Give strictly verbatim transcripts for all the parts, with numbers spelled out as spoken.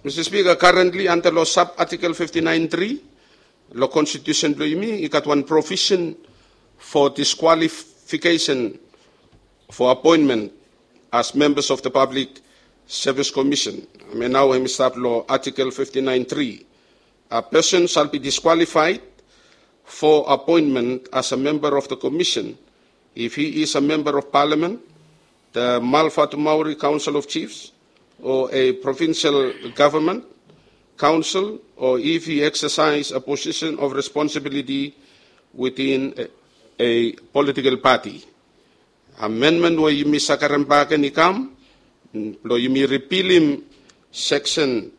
Mr Speaker, currently under lo sub article fifty nine three lo constitution blo yumi i gat wan provision for disqualification for appointment as members of the Public Service Commission. Hemia nao hemi stap lo article fifty nine three. A person shall be disqualified for appointment as a member of the commission if he is a member of parliament, the Malvatumauri Council of Chiefs, or a provincial government council, or if he exercise a position of responsibility within a, a political party. Amendment we yumi save karem bak gen i kam blo yumi ripilim section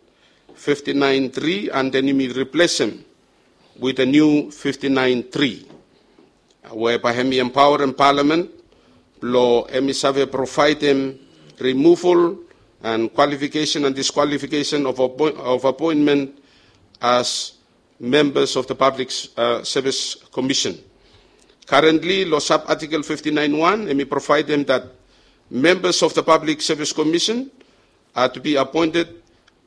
fifty nine three and then yumi replacem with a new fifty nine three, we bae hemi empowerem parliament blo hemi save provaedem removal and qualification and disqualification of, appoint, of appointment as members of the Public uh, Service Commission. Currently, lo sub article fifty nine one, hemi provaedem that members of the Public Service Commission are to be appointed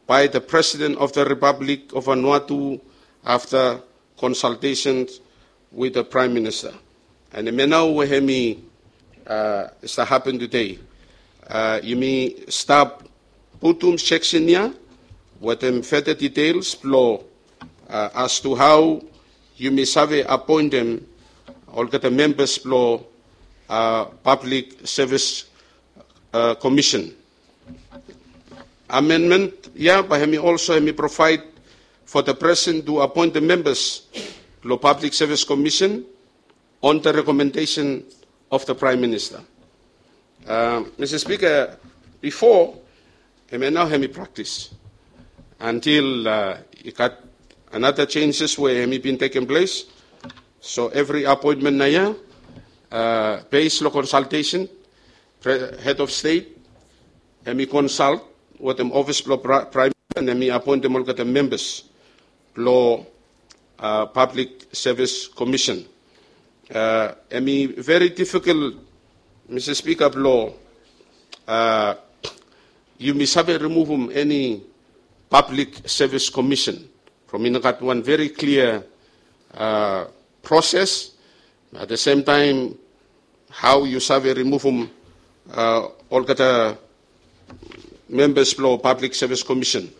by the President of the Republic of Vanuatu after consultations with the Prime Minister. And hemia nao we hemi uh, stap hapen today. Uh, yumi stap putum section ia wetem further details blo uh, as to how yumi save appointem olgeta members blo uh, Public Service uh, Commission. Amendment ia bae hemi also hemi provide for the President to appoint the members blo Public Service Commission on the recommendation of the Prime Minister. Uh, Mr Speaker, bifo hemia nao hemi practice until uh, i gat another changes we hemi bin tekem ples. So every appointment nao ia uh, based lo consultation, Pre- head of state hemi consult wetem office blo Prime Minister and hemi appointem olgeta members blo uh, Public Service Commission. Uh, hemi very difficult, Mr Speaker, blo uh, yumi save remuvum eni Public Service Commission from i no gat wan very clear uh, process. At the same time, how yu save remuvum uh, olgeta members blo Public Service Commission.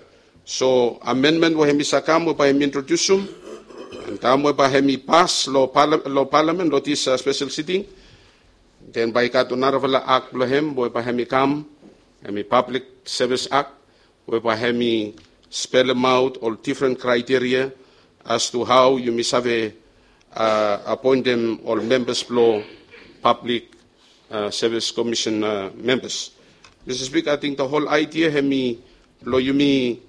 So amendment we hemi save kam we bae hemi introdiusum, and taem we bae hemi pas lo, parla- lo Parliament lo this uh, special sitting, then bae i gat narafala act blo hem we bae hemi kam, hemi Public Service Act, we bae hemi spelemaot ol different criteria as to how yumi save uh, appointem ol members blo Public uh, Service Commission uh, members. Mr Speaker, I think the whole idea hemi blo yumi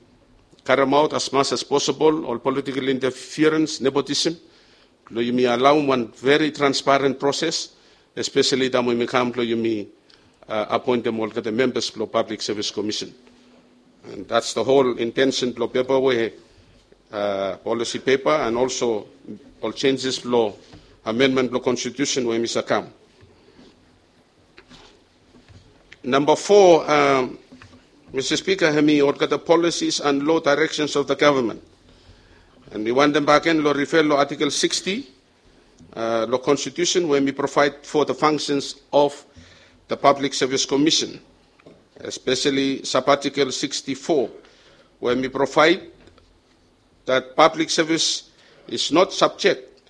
karemaot as much as possible ol political interference, nepotism, blo yumi alaom wan very transparent process, especially taem we yumi kam blo yumi uh, appointem olgeta members blo Public Service Commission. And that's the whole intention blo pepa we uh, policy paper and also ol changes blo amendment blo constitution we hemi save kam. Number four, um, Mr Speaker, hemi olgeta policies and law directions of the government. And mi wantem bakegen lo refer lo article sixty uh, lo constitution we hemi provide for the functions of the Public Service Commission, especially sub-article sixty-four, we hemi provide that public service is not subject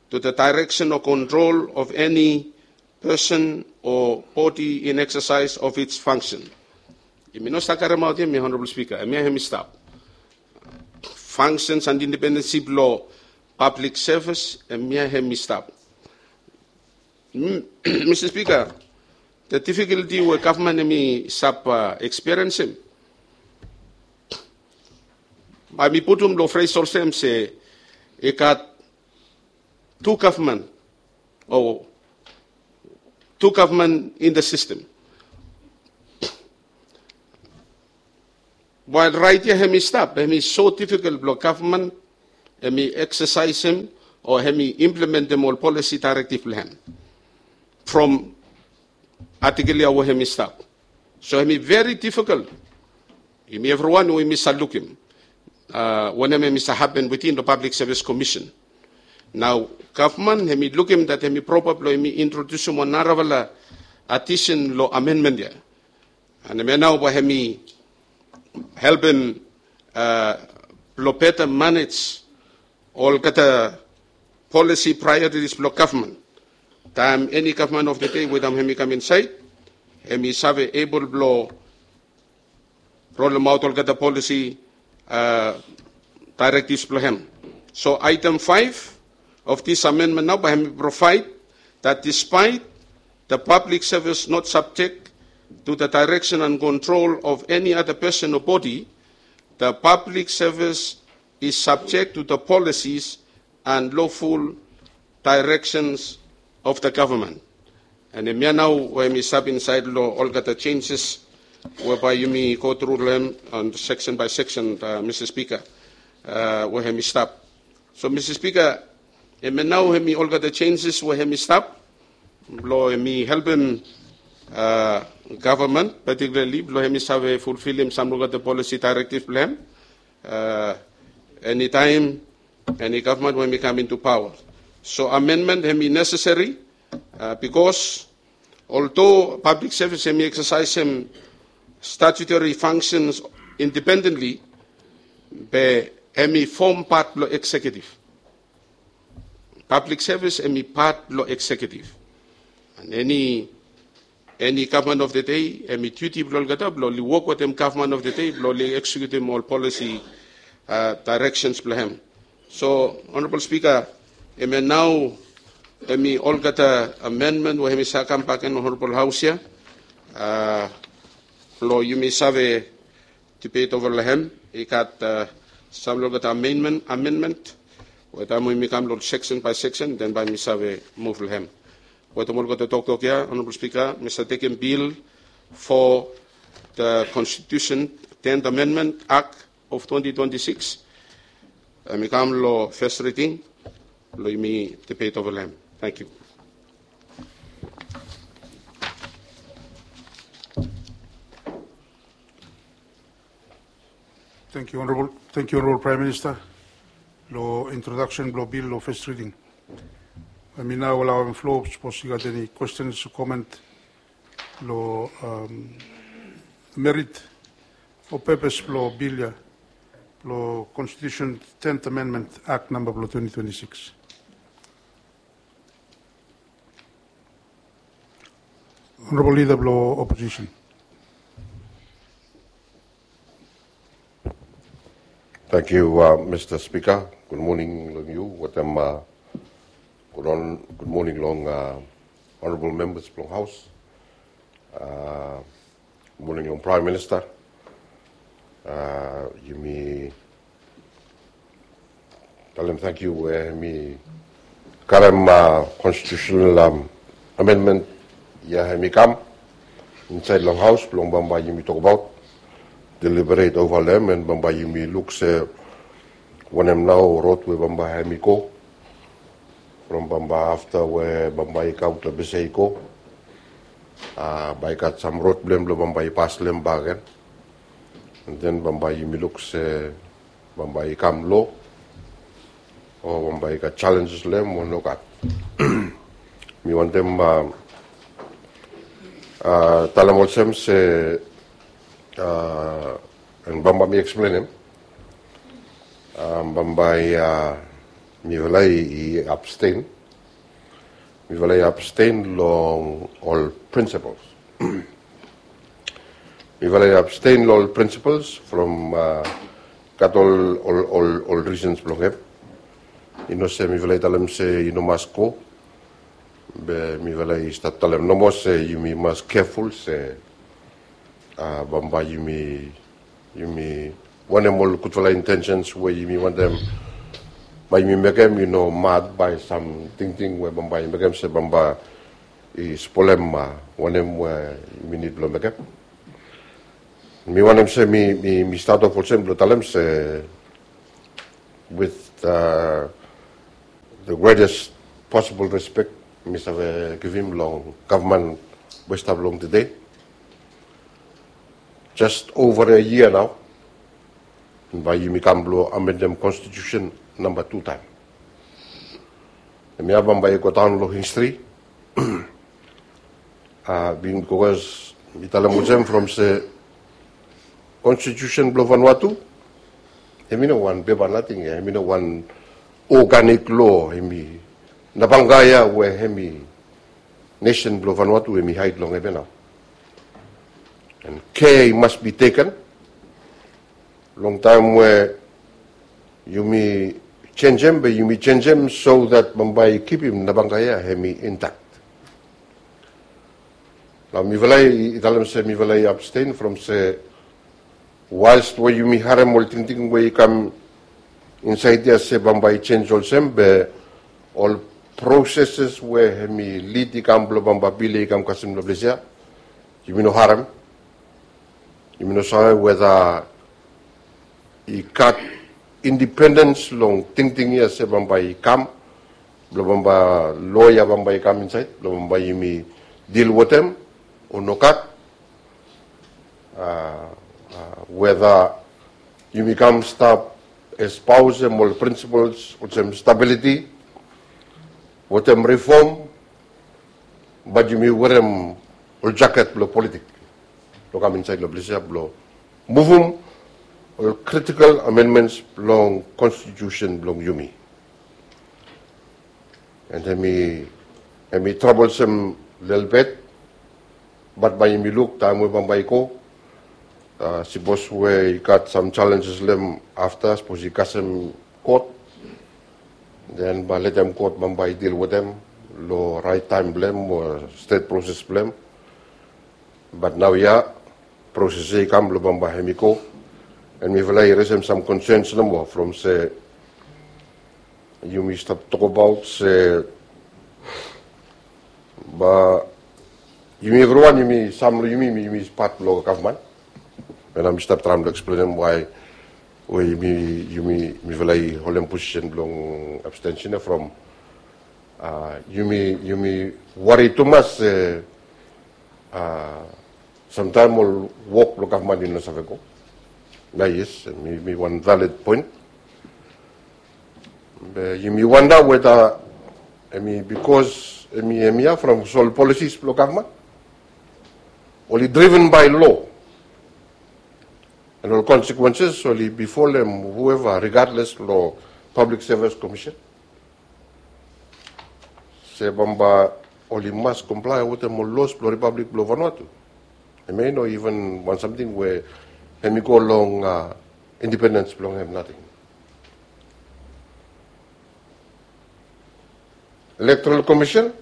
to the direction or control of any person or body in exercise of its function. Yumi no save karemaot ia, Honorable Speaker, hemia hemi stap. Functions and independensi blo public service, hemia hemi stap. Mr Speaker, the difficulty we gavman hemi stap uh, experiencem, bae mi putum lo phrase olsem se i gat tu gavman o tu gavman in the system. While raet ia hemi stap, hemi so difficult blo gavman hemi exercisem o hemi implementem ol policy directive blo hem from article ia we hemi stap. So hemi very difficult Yumi evriwan we yumi save lukim wanem hemi save hapen wetem long Public Service Commission. Nao gavman hemi lukim dat hemi propa blong hemi introdusim wan narafala addition long amendment ya. And hemia nao bae hemi helpem blong better manage olgeta policy priorities blong gavman. Taem eni gavman of the day we taem hemi kam insaed, hemi save able blong rolemaot olgeta policy directives blong hem. So item five of this amendment nao bae hemi provide that despite the public service not subject to the direction and control of any other person or body, the public service is subject to the policies and lawful directions of the government. And hemia nao we hemi stap insaed long olgeta changes we bae yumi go tru long hem on section by section, Mr Speaker, we hemi stap. So Mr Speaker, hemia nao hemi olgeta changes we hemi stap blong hemi helpem gavman, particularly blong hemi save fulfilim sam olgeta policy directives blong hem. Enitaem eni gavman we hemi kam into power. So amendment hemi necessary bikos although public service hemi exercisem statutory functions independently, be hemi fom pat blong executive. Public service hemi pat blong executive. And eni eni gavman of the day hemi duty blong olgeta blong oli wok wetem gavman of the day blong oli executim ol policy directions blong hem. So Honorable Speaker, hemia nao hemi olgeta amendment we hemi save kambak gen long Honorable House ya blong yumi save debate ova long hem. I gat sam long olgeta amendment, amendment we taem we yumi kam long section by section, then bae yumi save move long hem. Wetem olgeta toktok ya, Honorable Speaker, mi save tekem bill for the Constitution Tenth Amendment Act of twenty twenty-six. Hemi kam long first reading blong yumi debate ova long hem. Thank you. Thank you, Honorable. Thank you, Honorable Prime Minister, long introduction blong bill long first reading. Bae mi nao alaoem floor sapos i gat eni questions o comment long merit o purpose blong bill ya, blong Constitution Tenth Amendment Act namba blong twenty twenty-six. Honorable Leader blong Opposition. Thank you, Mr Speaker. Gud moning long yu wetem gud moning long Honorable members blong House. Gud moning long Prime Minister. Yumi talem tangkiu we hemi karem constitutional amendment ya hemi kam insaed long House blong bambae yumi tokbaot, deliberate ova long hem, and bambae yumi luk se wanem nao rod we bambae hemi go from bambae afta we bambae i kaot long bese i go. Bae i gat sam rod blong hem blong bambae i pas long hem bakegen. And then bambae yumi luk se bambae i kam lo o bambae i gat challenges long hem o nogat. Mi wantem talem olsem se and bambae mi eksplenem. Bambae mifala i abstain. Mifala i abstain long ol principles. Mifala i abstain long ol principles from gat ol ol ol reasons blong hem. I no se mifala i talem se i no mas go, be mifala i stap talem nomo se yumi mas careful se bambae yumi yumi wanem ol gudfala intentions we yumi wantem bae yumi mekem i no mad bae sam tingting we bambae i mekem se bambae i spolem wanem we yumi nid blong mekem. Mi wantem se mi mi mi stat of olsem blong talem se with the greatest possible respect mi save givim long gavman we stap long tede. Just over a year nao bae yumi kam blong amendem konstitusen namba tu taem. Hemia bambae i go daon long histri. Bikos mi talem olsem from se konstitusen blong Vanuatu, hemi no wan pepa nating ya, hemi no wan organic law, hemi nabanga ya we hemi nesen blong Vanuatu hemi haed long hemia nao. And care must be taken long taem we yumi jenjem, be yumi jenjem so that bambae i kipim nabanga ya hemi intact. Nao mifala i talem se mifala i abstain from se, whilst we yumi harem ol tingting we i kam insaed ya se bambae i jenis olsem, be ol processes we hemi lid i kam blong bambae bil ya i kam kasem long ples ya, yumi no harem. Yumi no save weta i gat independens long tingting ya se bambae i kam, blong bambae loa ya bambae i kam insaed blong bambae yumi dil wetem o nogat. Weta yumi kam stap espousem ol prinsipels olsem stabiliti wetem rifom, bat yumi werem ol jaket blong politik blong kam insaed long ples ya blong muvum ol critical amendments blong konstitusen blong yumi. And hemi, hemi troublesome lelebet, bat bae yumi luk taem we bambae i go, sipos we i gat sam challenges long hem afta, sipos i kasem kot, then bae letem kot bambae i dil wetem long raet taem blong hem o stret proses blong hem. Bat naoia proses ya i kam blong bambae hemi go. And mifala i resem sam concerns nomo from se yumi stap tokbaot se bae yumi evriwan, yumi, sam long yumi, yumi pat blong gavman. And mi stap traem blong eksplenem wae we yumi, yumi, mifala i holem posisen blong abstention ya from yumi, yumi wari tumas se samtaem ol wok blong gavman i no save go. Na yes, hemi wan valid poen. Be yumi wanda weta hemi bikos hemi, hemia from ol policies blong gavman oli driven by law. And ol consequences oli befalem whoever, regardless long Public Service Commission, se bambae oli mas comply wetem ol laws blong Republic blong Vanuatu. Hemia i no even wan samting we hemi go long independens blong hem nating. Electoral Commission,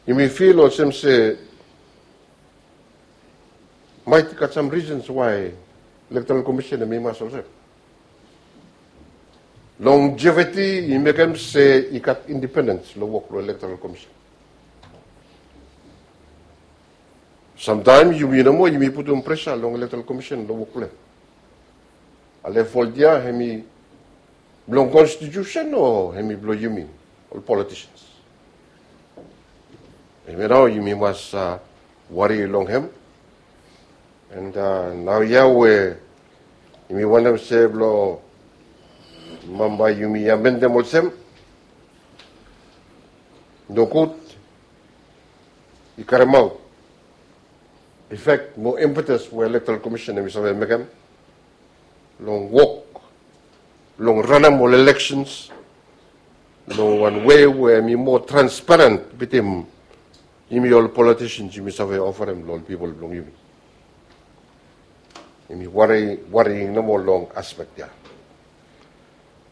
yumi feel olsem se maet i gat sam reasons wae Electoral Commission hemi mas olsem. Longevity i mekem se i gat independens long wok blong Electoral Commission. Samtaem yumi nomo yumi putum presa long Electoral Commission long wok blong hem. Ale folt ya hemi blong konstitusen o hemi blong yumi ol politicians? Hemia nao yumi mas wari long hem. And naoia we yumi wantem se blong bambae yumi amendem olsem, nogud i karemaot efek mo impetus we Electoral Commission hemi save mekem long wok long ranem ol elections long wan wei we hemi moa transparent wetem yumi ol politicians yumi save ofarem long ol pipol blong yumi. Yumi wari, wari nomo long aspek ya.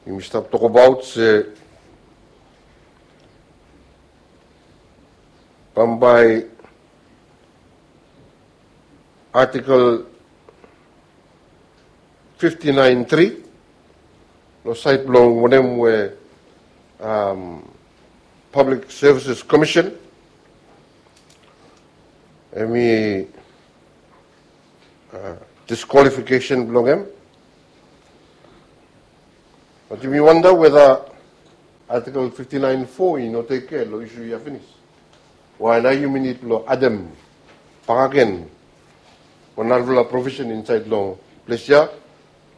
Yumi stap tokbaot se bambae Article fifty-nine three long saed blong wanem we Public Services Commission hemi disqualification blong hem. Bat yumi wanda weta Article fifty-nine four i no tek kea long isu ya finis. Wae nao yumi nid blong adem bakegen o narafala provisen insaed long ples ya,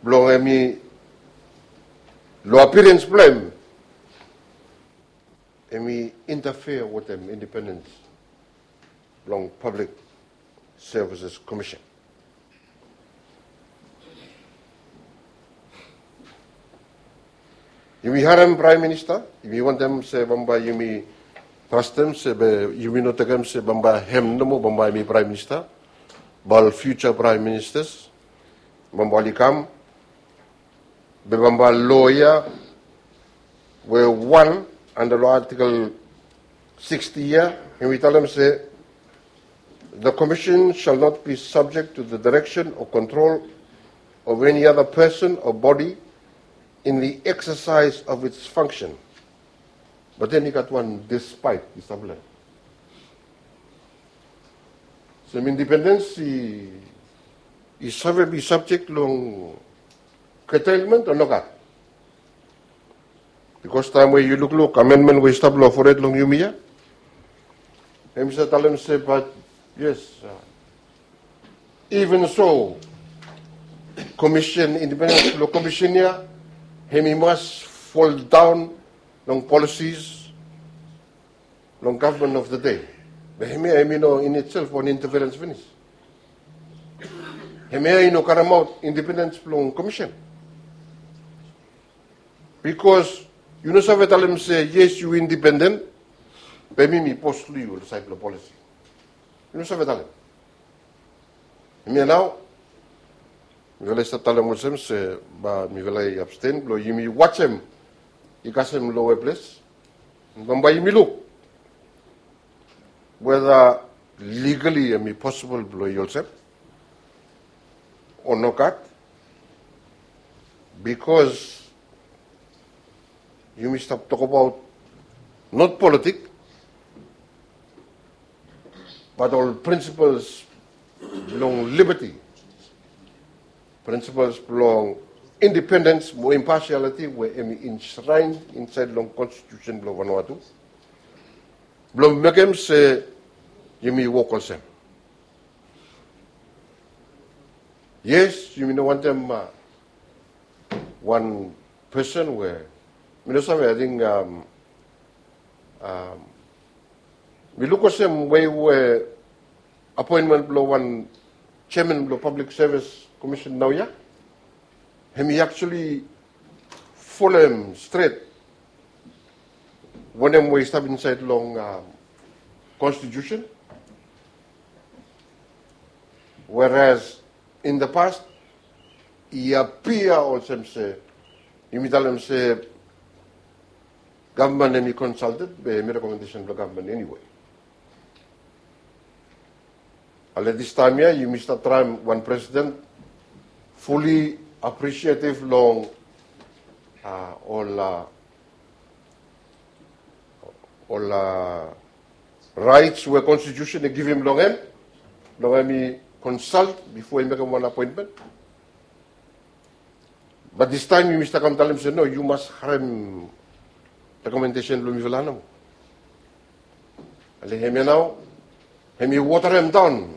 blong hemi, long appearance blong hem, hemi interfere wetem independence blong Public Services Commission. Yumi harem Praem Minista, yumi wantem se bambae yumi trastem se be yumi no tekem se bambae hem nomo bambae hemi Praem Minista, be ol future Praem Ministas bambae oli kam, be bambae loa ya we wan anda long Article sixty ya, hemi talem se, "The Commission shall not be subject to the direction or control of any other person or body in the exercise of its function." But then i gat wan despite i stap long hem. So independence i, i save be subject long curtailment o nogat? Bikos taem we yu lukluk amendment we i stap long fored long yumi ya, hemi save talem se, but yes, uh, even so, commission, independence blong commission ya, hemi mas fall down long policies long government of the day. Be hemia hemi no in itself wan interference finis. Hemia i no karemaot independence blong commission. Bikos yu no save talem se yes yu independent, be mi mi bos long yu long saed blong policy. Yu no save talem. Hemia nao mifala i stap talem olsem se bae mifala i abstain blong yumi wajem i kasem lower ples. Bambae yumi luk whether legally hemi possible blong i olsem o nogat. Bikos yumi stap tokbaot not politik, but ol principles blong liberty, principles blong independence mo impartiality we hemi enshrined insaed long konstitusen blong Vanuatu, blong mekem se yumi wok olsem. Yes, yumi no wantem, uh, wan person we mi no save, ating, um, um, mi luk olsem wei we appointment blong wan chairman blong Public Service Commission naoia, hemi actually folem stret wanem we i stap insaed long, um, konstitusen. Whereas in the past i appear olsem se yumi talem se gavman hemi consulted be hemi recommendation blong gavman anyway. Ale distaem ya yumi stap traem wan presiden fully appreciative long, uh, ol, uh, ol, uh, rights we konstitusen i givim long hem, long hemi consult bifo i mekem wan appointment. Bat distaem yumi stap kam talem se no, yu mas harem rekomendesen blong mifala nao. Ale hemia nao hemi waterem daon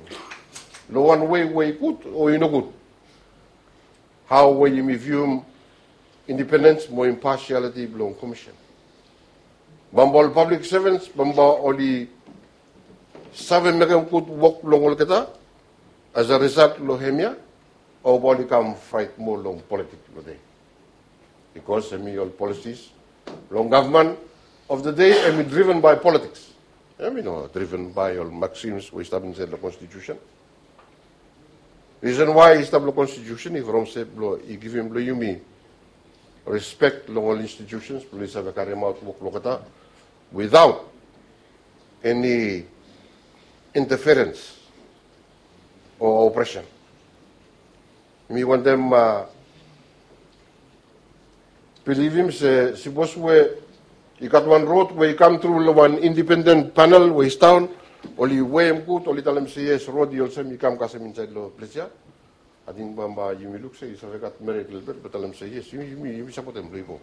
long wan wei we i gud o i nogud. Hao we yumi vium independens mo imparsialiti blong komisen? Bambae ol pablik sevens bambae oli save mekem gud wok blong olgeta as a risalt long hemia, o bae oli kam fraet moa long politik blong dei? Bikos hemi ol polisis blong gavman of the day hemi driven by politiks. Hemi no driven by ol maksims we i stap insaed long konstitusen. Risen wae i stap long konstitusen i from se blong i givim long yumi respek long ol institusens blong i save karimaot wok blong olgeta without eni inteferens o opresen. Mi wantem bilivim se sipos we i gat wan rod we i kam tru long wan indipenden panel we i sidaon, oli weim gud, oli talem se yes, rod i olsem i kam kasem insaed long ples ya. Ating bambae yumi luk se i save gat merit lelebet, be talem se yes, yumi, yumi, yumi sapotem long i go.